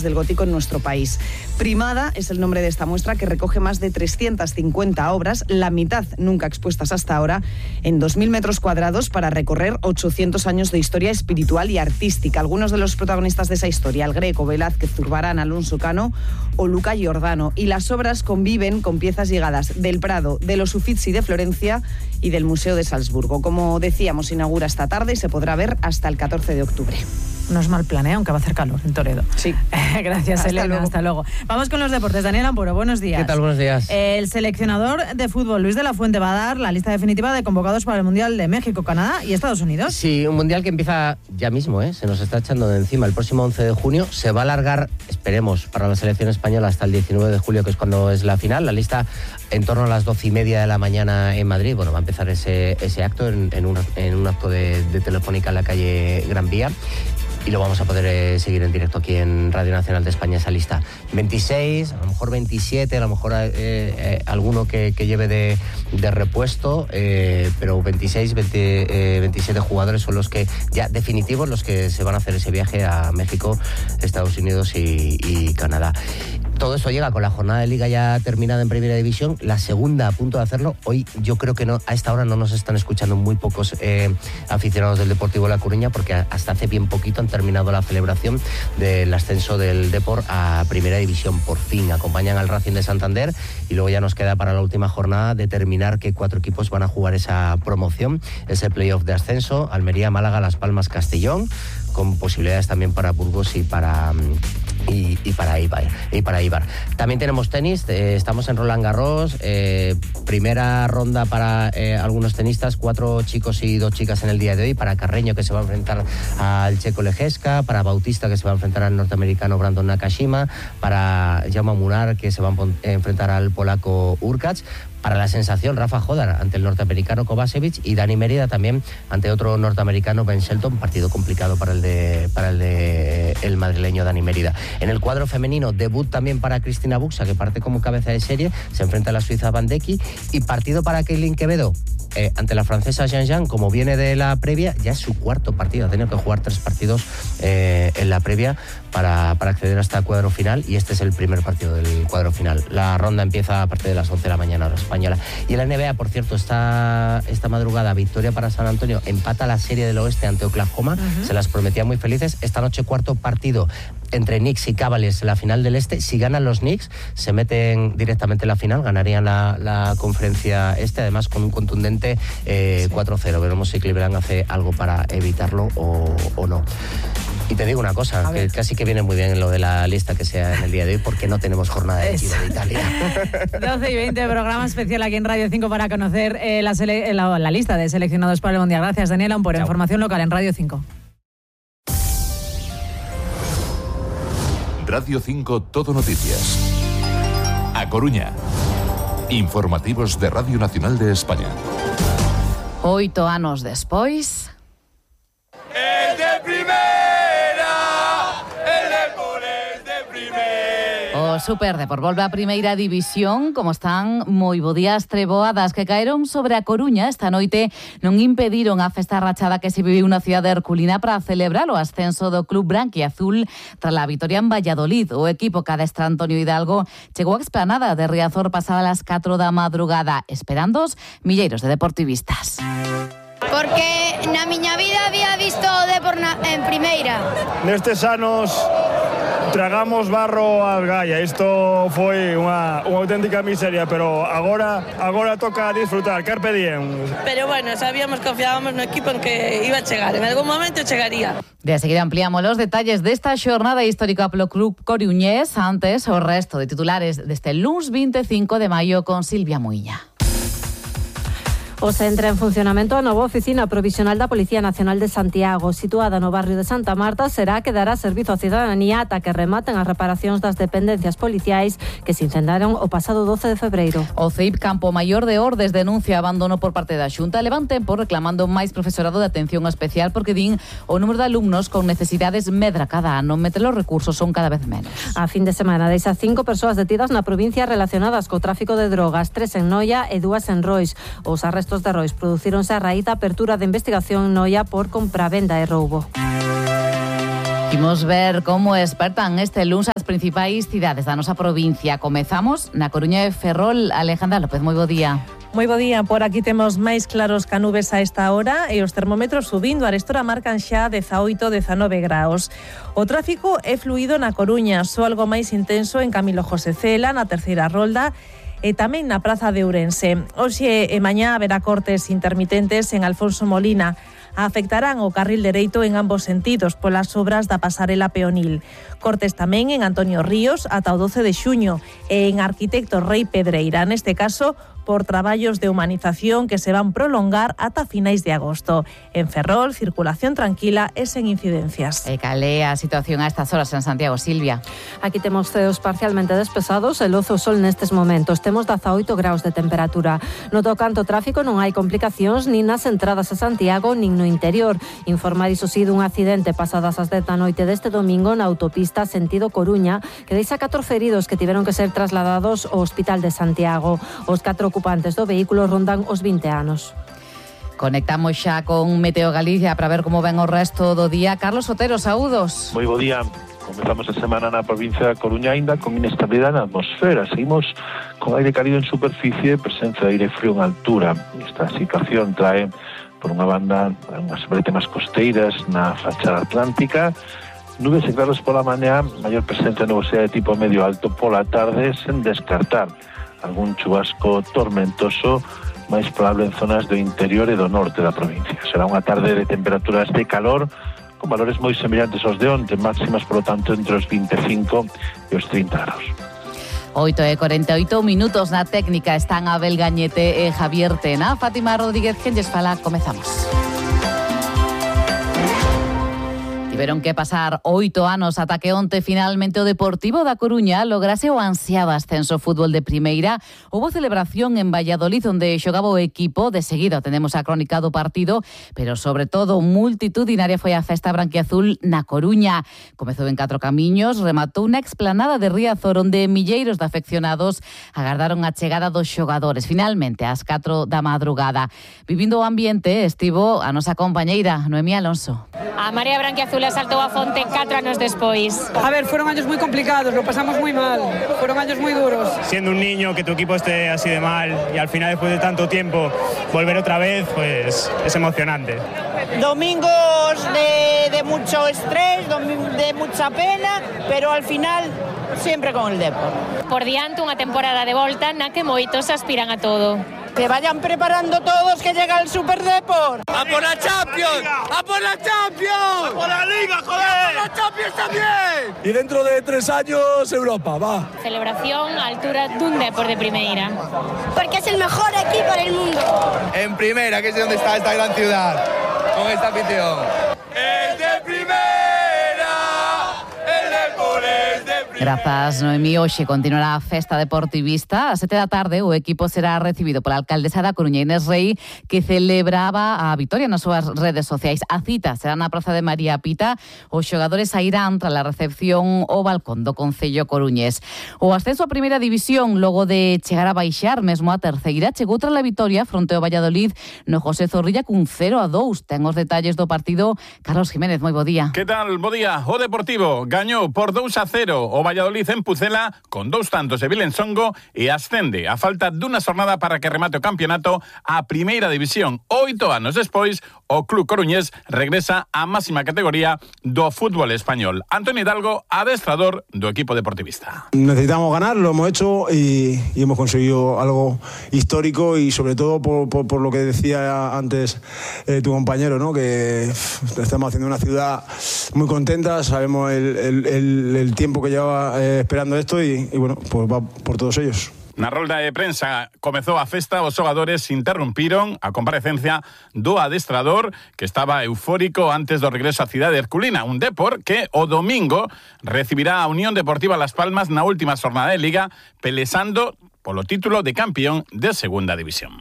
del gótico en nuestro país. Primada es el nombre de esta muestra, que recoge más de 350 obras, la mitad nunca expuestas hasta ahora, en 2.000 metros cuadrados para recorrer 800 años de historia espiritual y artística. Algunos de los protagonistas de esa historia: El Greco, Velázquez, Zurbarán, Alonso Cano o Luca Giordano. Y las obras conviven con piezas llegadas del Prado, de los Uffizi de Florencia y del Museo de Salzburgo. Como decíamos, inaugura esta tarde y se podrá ver hasta el 14 de octubre. No es mal plan, aunque va a hacer calor en Toledo. Sí. Gracias, Elena. Hasta luego. Vamos con los deportes. Daniel Ampuro, buenos días. ¿Qué tal? Buenos días. El seleccionador de fútbol, Luis de la Fuente, va a dar la lista definitiva de convocados para el Mundial de México, Canadá y Estados Unidos. Sí, un Mundial que empieza ya mismo, se nos está echando de encima. El próximo 11 de junio se va a alargar, esperemos, para la selección española hasta el 19 de julio, que es cuando es la final. La lista en torno a las 12:30 de la mañana en Madrid. Bueno, va a empezar ese acto en un acto de Telefónica en la calle Gran Vía. Y lo vamos a poder seguir en directo aquí en Radio Nacional de España, esa lista. 26, a lo mejor 27, a lo mejor alguno que lleve de repuesto, pero 26, 27 jugadores son los que ya definitivos, los que se van a hacer ese viaje a México, Estados Unidos y Canadá. Todo esto llega con la jornada de Liga ya terminada en Primera División, la segunda a punto de hacerlo. Hoy yo creo que a esta hora no nos están escuchando muy pocos aficionados del Deportivo La Coruña, porque hasta hace bien poquito han terminado la celebración del ascenso del Depor a Primera División. Por fin acompañan al Racing de Santander y luego ya nos queda para la última jornada determinar qué 4 equipos van a jugar esa promoción, ese playoff de ascenso: Almería, Málaga, Las Palmas, Castellón, con posibilidades también para Burgos y para Eibar. También tenemos tenis, estamos en Roland Garros, primera ronda para algunos tenistas, 4 chicos y 2 chicas en el día de hoy: para Carreño, que se va a enfrentar al checo Lejeska; para Bautista, que se va a enfrentar al norteamericano Brandon Nakashima; para Jaume Munar, que se va a enfrentar al polaco Urkacz; para la sensación Rafa Jodar ante el norteamericano Kovacevic; y Dani Mérida también ante otro norteamericano, Ben Shelton. Partido complicado para el madrileño Dani Mérida. En el cuadro femenino, debut también para Cristina Buxa, que parte como cabeza de serie, se enfrenta a la suiza Van Decky; y partido para Keilin Quevedo ante la francesa Jean Jean. Como viene de la previa, ya es su cuarto partido, ha tenido que jugar 3 partidos en la previa para acceder hasta el cuadro final, y este es el primer partido del cuadro final. La ronda empieza a partir de las 11 de la mañana hora española. Y en la NBA, por cierto, esta madrugada, victoria para San Antonio, empata la serie del oeste ante Oklahoma. Se las prometía muy felices. Esta noche, cuarto partido entre Knicks y Cavaliers en la final del este. Si ganan los Knicks, se meten directamente en la final, ganarían la conferencia este, además con un contundente 4-0. Veremos si Cleveland hace algo para evitarlo o no. Y te digo una cosa, que casi que viene muy bien lo de la lista que sea en el día de hoy, porque no tenemos jornada de Giro de Italia. 12:20, programa especial aquí en Radio 5 para conocer la lista de seleccionados para el Mundial. Gracias, Daniela, por información local en Radio 5. Radio 5 Todo Noticias. A Coruña. Informativos de Radio Nacional de España. 8 anos despois. ¡Es de primera! ¡El Depor es de primera! O Superdepor volve a Primeira División. Como están, moi bo día. As treboadas que caeron sobre a Coruña esta noite non impediron a festa rachada que se viviu na cidade herculina para celebrar o ascenso do club branquiazul tras a vitoria en Valladolid. O equipo que adestra Antonio Hidalgo chegou á explanada de Riazor pasada as 4 da madrugada, esperando os milleiros de deportivistas. Porque na miña vida había visto o Depor en primeira. Nestes anos tragamos barro ás Gaia. Isto foi unha auténtica miseria, pero agora toca disfrutar, carpe diem. Pero bueno, sabíamos, confiábamos no equipo en que iba a chegar, en algún momento chegaría. De seguida ampliamos los detalles desta xornada histórica polo club coruñés. Antes, o resto de titulares deste luns 25 de maio con Silvia Muiña. Hoxe entra en funcionamento a nova oficina provisional da Policía Nacional de Santiago, situada no barrio de Santa Marta. Será que dará servizo á cidadanía ata que rematen as reparacións das dependencias policiais que se incendiaron o pasado 12 de febreiro. O CEIP Campo Maior de Ordes denuncia abandono por parte da Xunta. Levan tempo reclamando máis profesorado de atención especial porque din o número de alumnos con necesidades medra cada ano, mentre os recursos son cada vez menos. A fin de semana deixa 5 persoas detidas na provincia relacionadas co tráfico de drogas, 3 en Noia e 2 en Rois. Os arrestos de Rois producíronse a raíz da apertura de investigación en Noia por compravenda e roubo. Imos ver como espertan este luns as das principais cidades da nosa provincia. Comezamos na Coruña de Ferrol. Alejandra López, moi bo día. Moi bo día, por aquí temos máis claros que nubes a esta hora e os termómetros subindo. A Arestora marcan xa 18-19 graus. O tráfico é fluido na Coruña, só algo máis intenso en Camilo José Cela, na terceira rolda, e tamén na Praza de Ourense. Hoxe e mañá haberá cortes intermitentes en Alfonso Molina. Afectarán o carril dereito en ambos sentidos polas obras da pasarela peonil. Cortes tamén en Antonio Ríos ata o 12 de xuño e en Arquitecto Rei Pedreira, neste caso por traballos de humanización que se van prolongar ata finais de agosto. En Ferrol, circulación tranquila e sen incidencias. E cal é a situación a estas horas en Santiago, Silvia? Aquí temos ceos parcialmente despesados e lozo o sol nestes momentos. Temos 18 graus de temperatura. No tocante ao tráfico non hai complicacións nin nas entradas a Santiago nin no interior. Informar iso si dun accidente pasadas as 10 da noite deste domingo na autopista sentido Coruña que deixa 4 feridos que tiveron que ser trasladados ao Hospital de Santiago. Os 4 ocupantes do vehículo rondan os 20 anos. Conectamos xa con Meteo Galicia para ver como ven o resto do día. Carlos Otero, saúdos. Moi bo día. Comezamos a semana na provincia da Coruña aínda con inestabilidade na atmosfera. Seguimos con aire cálido en superficie e presenza de aire frío en altura. Esta situación trae, por unha banda, unhas brétemas costeiras na fachada atlántica, nubes e claros pola mañá, maior presenza de nubosidade de tipo medio alto pola tarde, sen descartar algún chubasco tormentoso máis probable en zonas do interior e do norte da provincia. Será unha tarde de temperaturas de calor con valores moi semellantes aos de onte, máximas, por lo tanto, entre os 25 e os 30 graus. 8:48 minutos na técnica están Abel Gañete e Javier Tena. Fátima Rodríguez, quen lles fala, comezamos. Tiveron que pasar 8 anos ata que onte finalmente o Deportivo da Coruña lograse o ansiado ascenso ao fútbol de primeira. Houbo celebración en Valladolid onde xogaba o equipo. De seguida tenemos a crónica do partido, pero sobre todo multitudinaria foi a festa branquiazul na Coruña. Comezou en 4 camiños, rematou na explanada de Riazor onde milleiros de afeccionados agardaron a chegada dos xogadores. Finalmente, ás 4 da madrugada. Vivindo o ambiente estivo a nosa compañeira Noemí Alonso. A Marea Branquiazul saltou a fonte 4 anos despois. A ver, fueron años muy complicados, lo pasamos muy mal, fueron años muy duros. Siendo un niño, que tu equipo esté así de mal y al final, después de tanto tiempo, volver otra vez, pues es emocionante. Domingos de mucho estrés, de mucha pena, pero al final siempre con el Depor. Por diante unha temporada de volta na que moitos aspiran a todo. Que vayan preparando todos que llega el Super Depor. ¡A por la Champions! ¡A por la Champions! ¡A por la Liga, joder! ¡A por la Champions también! Y dentro de 3 años Europa, va. Celebración a altura dun Depor de primeira. Porque es el mejor equipo del mundo. En primera, que es donde está esta gran ciudad, con esta afición. ¡Es de primera! ¡El Depor es de primera! Grazas, Noemí. Hoxe continuará a festa deportivista. A 7 da tarde o equipo será recibido pola alcaldesa da Coruña, Inés Rei, que celebraba a vitoria nas súas redes sociais. A cita será na Praza de María Pita. Os xogadores sairán tras a recepción ao balcón do Concello coruñés. O ascenso a primeira división, logo de chegar a baixar mesmo a terceira, chegou tras a vitoria fronte ao Valladolid no José Zorrilla cun 0-2. Ten os detalles do partido Carlos Jiménez. Moi bo día. Que tal? Bo día. O Deportivo gañou por 2-0 o Valladolid en Pucela con 2 tantos de Vilensongo e ascende a falta dunha xornada para que remate o campeonato a primeira división. 8 anos despois, o club coruñés regresa á máxima categoría do fútbol español. Antonio Hidalgo, adestrador do equipo deportivista. Necesitamos ganar, lo hemos hecho y hemos conseguido algo histórico y sobre todo por lo que decía antes tu compañero, ¿no? Que estamos haciendo una ciudad muy contenta, sabemos el tiempo que lleva esperando esto y bueno, pues va por todos ellos. Na rolda de prensa comezou a festa, os xogadores interrumpiron a comparecencia do adestrador que estaba eufórico antes do regreso á cidade herculina, un Depor que o domingo recibirá a Unión Deportiva Las Palmas na última xornada de Liga, pelexando polo título de campeón de segunda división.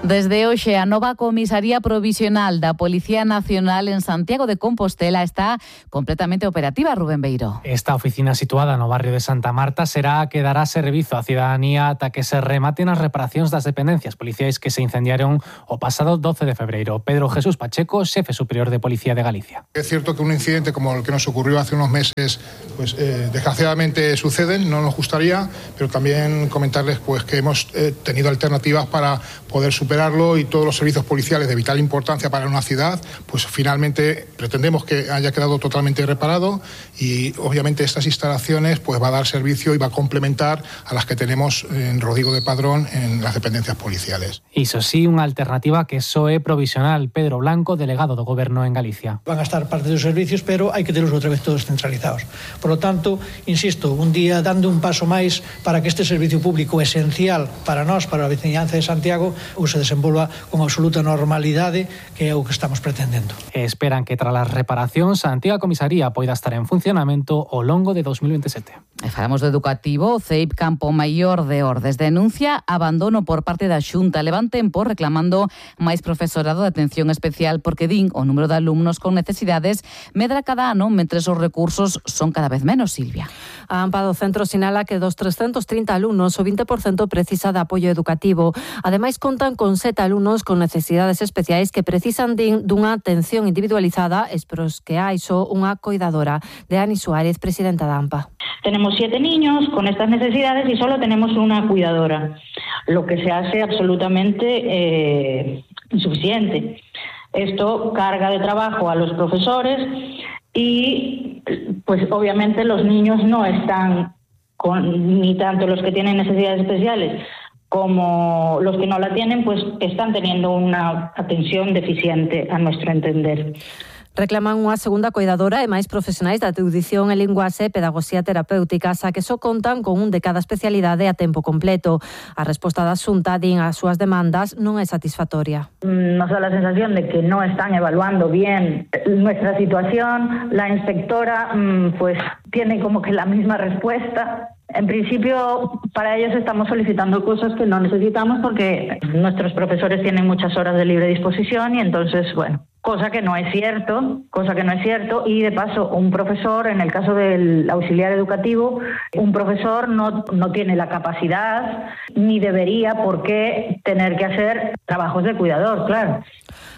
Desde hoxe, a nova comisaría provisional da Policía Nacional en Santiago de Compostela está completamente operativa, Rubén Beiro. Esta oficina situada no barrio de Santa Marta será a que dará servizo á cidadanía ata que se rematen as reparacións das dependencias policiais que se incendiaron o pasado 12 de febreiro. Pedro Jesús Pacheco, xefe superior de Policía de Galicia. Es cierto que un incidente como el que nos ocurrió hace unos meses, pues desgraciadamente suceden, no nos gustaría, pero también comentarles pues que hemos tenido alternativas para poder superarlo, y todos los servicios policiales de vital importancia para una ciudad, pues finalmente pretendemos que haya quedado totalmente reparado, y obviamente estas instalaciones pues va a dar servicio y va a complementar a las que tenemos en Rodrigo de Padrón en las dependencias policiales. Iso sí, unha alternativa que só é provisional. Pedro Blanco, delegado do Goberno en Galicia. Van a estar parte dos servicios, pero hai que telos outra vez todos centralizados. Por lo tanto, insisto, un día dando un paso máis para que este servicio público esencial para nós, para a veciñanza de Santiago, se desenvolva con absoluta normalidade, que é o que estamos pretendendo. Esperan que tras as reparacións a antiga comisaría poida estar en funcionamento ao longo de 2027. E falamos do educativo. O CEIP Campo Maior de Ordes denuncia abandono por parte da Xunta. Levan tempo reclamando máis profesorado de atención especial porque din o número de alumnos con necesidades medra cada ano, mentres os recursos son cada vez menos, Silvia. A AMPA do centro sinala que dos 330 alumnos, o 20% precisa de apoio educativo. Ademais, contan con 7 alumnos con necesidades especiais que precisan dunha atención individualizada, espros que hai só unha coidadora. De Ani Suárez, presidenta da AMPA. Tenemos 7 niños con estas necesidades y solo tenemos una cuidadora, lo que se hace absolutamente insuficiente. Esto carga de trabajo a los profesores y pues obviamente los niños no están ni tanto los que tienen necesidades especiales como los que no la tienen, pues están teniendo una atención deficiente a nuestro entender. Reclaman unha segunda coidadora e máis profesionais da audición e linguaxe e pedagogía terapéutica, xa que só contan con un de cada especialidade a tempo completo. A resposta da Xunta din as súas demandas non é satisfactoria. Nos da la sensación de que no están evaluando bien nuestra situación. La inspectora pues tiene como que la misma respuesta. En principio, para ellos estamos solicitando cosas que no necesitamos porque nuestros profesores tienen muchas horas de libre disposición y entonces, bueno, cosa que no es cierto, y de paso un profesor, en el caso del auxiliar educativo, un profesor no tiene la capacidad ni debería por qué tener que hacer trabajos de cuidador, claro.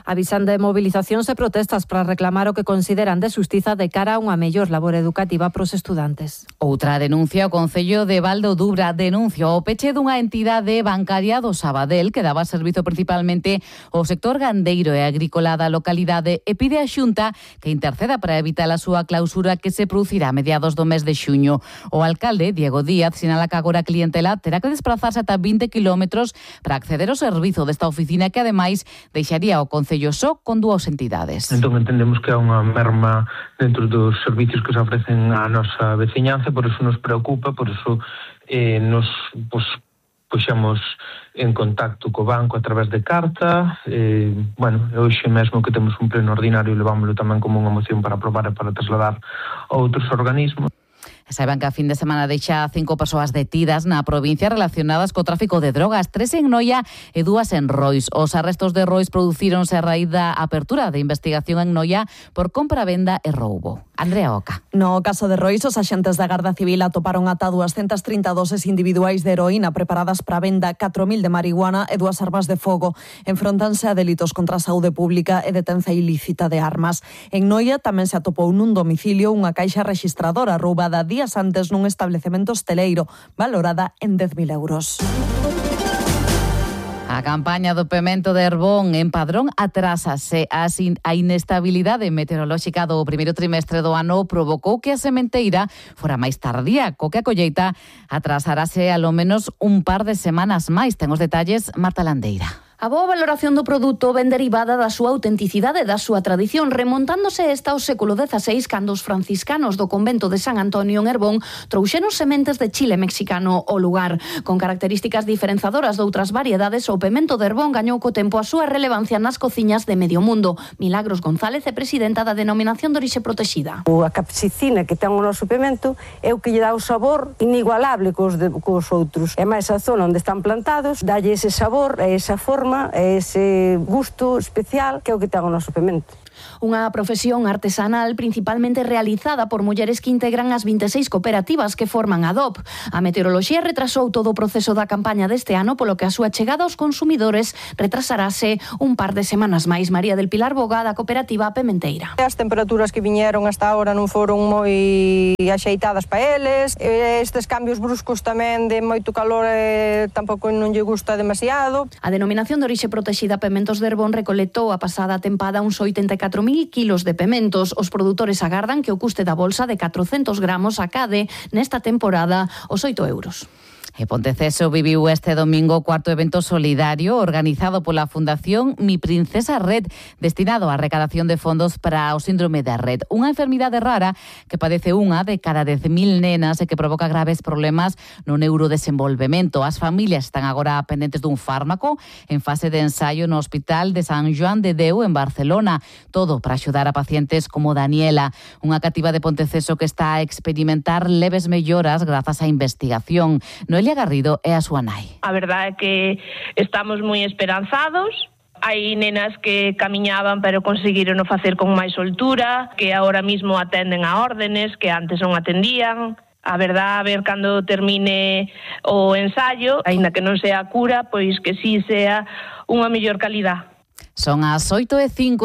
Avisan de movilizacións e protestas para reclamar o que consideran de xustiza de cara a unha mellor labor educativa pros estudantes. Outra denuncia, o Concello de Val do Dubra denuncia o peche dunha entidade bancaria do Sabadell que daba servizo principalmente ao sector gandeiro e agrícola da localidade e pide a Xunta que interceda para evitar a súa clausura que se producirá a mediados do mes de xuño. O alcalde, Diego Díaz, sinala que agora a clientela terá que desplazarse ata 20 kilómetros para acceder ao servizo desta oficina que ademais deixaría o Concello só con 2 entidades. Entón entendemos que há unha merma dentro dos servicios que se ofrecen á nosa veciñanza, por eso nos preocupa, por eso nos puxemos en contacto co banco a través de carta. Hoxe mesmo que temos un pleno ordinario levámoslo tamén como unha moción para aprobar e para trasladar a outros organismos. Saiban que a fin de semana deixa 5 persoas detidas na provincia relacionadas co tráfico de drogas, 3 en Noia e 2 en Rois. Os arrestos de Rois producíronse a raíz da apertura de investigación en Noia por compra-venda e roubo. Andrea Oca. No caso de Rois, os axentes da Garda Civil atoparon ata 230 doses individuais de heroína preparadas para venda, 4.000 de marihuana e 2 armas de fogo. Enfrontanse a delitos contra a saúde pública e detenza ilícita de armas. En Noia tamén se atopou nun domicilio unha caixa registradora roubada días antes nun establecemento hosteleiro, valorada en 10.000 euros. A campaña do pemento de Herbón en Padrón atrásase. A inestabilidade meteorolóxica do primeiro trimestre do ano provocou que a sementeira fora máis tardía, co que a colleita atrasarase alo menos un par de semanas máis. Ten os detalles Marta Landeira. A boa valoración do produto ven derivada da súa autenticidade e da súa tradición, remontándose esta ao século XVI, cando os franciscanos do convento de San Antonio en Herbón trouxeron sementes de chile mexicano ao lugar. Con características diferenzadoras doutras variedades, o pemento de Herbón gañou co tempo a súa relevancia nas cociñas de medio mundo. Milagros González é presidenta da Denominación de Orixe Protexida. A capsicina que ten o noso pemento é o que lle dá o sabor inigualable cos outros. É máis a zona onde están plantados, dalle ese sabor e esa forma forma e ese gusto especial que é o que ten o noso pemento. Unha profesión artesanal principalmente realizada por mulleres que integran as 26 cooperativas que forman a DOP. A meteoroloxía retrasou todo o proceso da campaña deste ano, polo que a súa chegada aos consumidores retrasarase un par de semanas máis. María del Pilar Boga, da cooperativa Pementeira. As temperaturas que viñeron hasta ahora non foron moi axeitadas para eles. Estes cambios bruscos tamén de moito calor tampouco non lle gusta demasiado. A denominación de orixe protexida Pementos de Herbón recolectou a pasada tempada uns 84.000 kilos de pementos. Os produtores agardan que o custe da bolsa de 400 gramos acade nesta temporada os 8 euros. E Ponteceso viviu este domingo o cuarto evento solidario organizado pola Fundación Mi Princesa Red, destinado á recadación de fondos para o síndrome de Rett, unha enfermidade rara que padece unha de cada 10.000 nenas e que provoca graves problemas no neurodesenvolvemento. As familias están agora pendentes dun fármaco en fase de ensaio no Hospital de Sant Joan de Déu en Barcelona, todo para axudar a pacientes como Daniela, unha cativa de Ponteceso que está a experimentar leves melloras grazas á investigación. Noelia Garrido é a súa nai. A verdade é que estamos moi esperanzados. Hai nenas que camiñaban pero conseguiron facer con máis soltura, que agora mismo atenden a órdenes que antes non atendían. A verdade, a ver cando termine o ensayo, aínda que non sea cura, pois que si sea unha mellor calidad. Son as 8:58.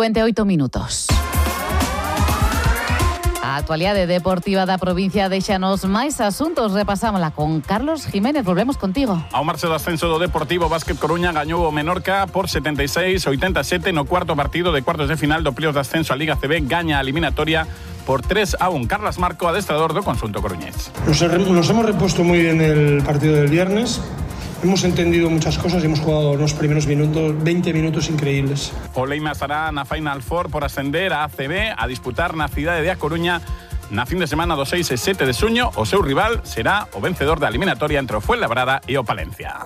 A actualidade deportiva da provincia deixanos máis asuntos. Repasámola con Carlos Jiménez. Volvemos contigo. Ao marche do ascenso do Deportivo, Básquet Coruña gañou o Menorca por 76-87 no cuarto partido de cuartos de final do playoff de ascenso a Liga CB. Gaña a eliminatoria por 3-1. Carlas Marco, adestrador do conxunto coruñés. Nos hemos repuesto muy bien el partido del viernes. Hemos entendido muchas cosas y hemos jugado los primeros minutos, 20 minutos increíbles. O Leima estará na Final Four por ascender a ACB a disputar na cidade de A Coruña na fin de semana do 6 e 7 de xuño. O seu rival será o vencedor da eliminatoria entre o Fuenlabrada e o Palencia.